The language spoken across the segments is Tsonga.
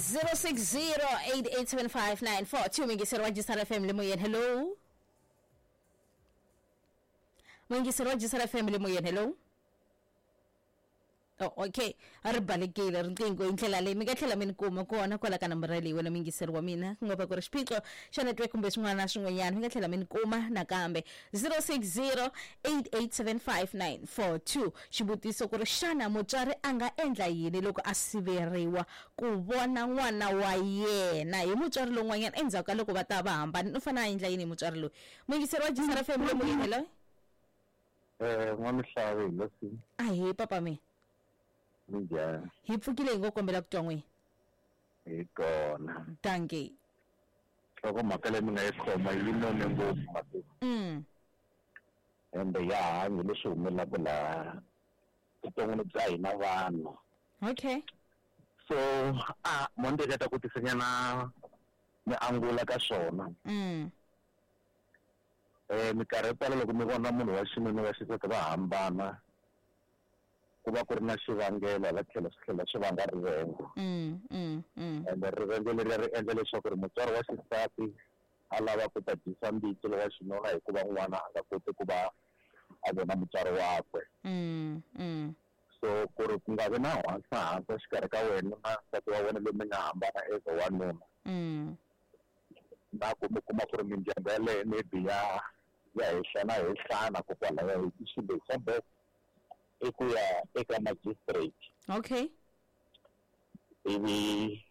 060 8875942, muyingiseri wa Jisara FM le moyeni, hello. Muyingiseri wa Jisara FM le moyeni, hello. Oh, okay, a ri balekile riqingho hi ndlela leyi. Mi nga tlhela mi ni kuma kona kwala ka nambara leyi wena muyingiseri wa mina, ku nga va ku ri xiphiqo xa network kumbe swin'wana na swin'wanyana, mi nga tlhela mi ni kuma nakambe 060 8875942. Xivutiso ku ri, xana mutswari a nga endla yini loko a siveriwa ku vona n'wana wa yena hi mutswari lowun'wanyana endzhaku ka loko va ta va hambana? U fanele a endla yini hi mutswari loyi? Muyingiseri wa Jisara FM le moyeni, hello. N'wamihlavi, hi leswi. Ahee, papa mina. Minjhani? Hi pfukile, hi ngo kombela ku twa n'wina. Hi kona. Dankie. Nhlokomhaka leyi mi nga yi khoma yi none ngopfu masiku, ende ya hanyi leswi humelelaka laha vuton'wini bya hina vanhu. So a mo ni teketa ku tisanyana mi angula ka swona. Minkarhi yo tala loko mi vona munhu wa xinuna, wa xisati va hambana, ku va ku ri na xivangelo, hala tlhelo swi tlhela swi vanga rivengo. Ende rivengo leriya ri endla leswaku ri mutswari wa xisati a lava ku ta dyisa mbitsi lowa xinuna, hikuva n'wana a nga koti ku va a vona mutswari wakwe. So ku ri ku nga vi na hansa exikarhi ka wena na nsati wa wena loyi mi nga hambana as a wanuna, na ku mi kuma ku ri mindyangu yaleyo maybe ya hehlana hehlana kokwalaya, hi xilo xa best i ku ya eka magistrate, ivi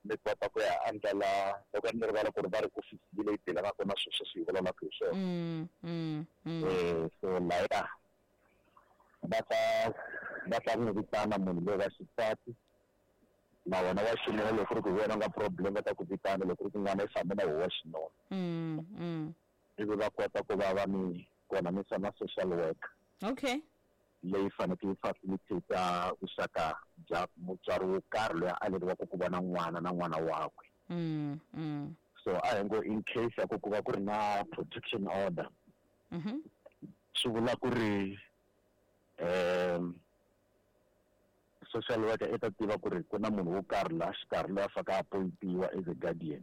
mi kota ku ya andlala loko ni rivala ku ri va ri ofisi leyi dealanaka na swilo sweswi hi vulavulaka hi swona. So laya va ta n'wi vitana munhu loyi wa xisati na wena wa xinuna. Loko ku ri ku hi wena u nga problem, va ta ku vitana. Loko ku ri ku n'wana i fambe na wo wa xinuna, ivi va kota ku va va mi konanisa na social work leyi fanekele yi facilitate vuxaka bya mutswari wo karhi loyi a aleriwaka ku vona n'wana na n'wana wakwe. So a hi ngo in case ya ku ku va ku ri na protection order, swi vula ku ri social worker i ta tiva ku ri ku na munhu wo karhi laha xikarhi loyi a faneke a appointiwa as a guardian.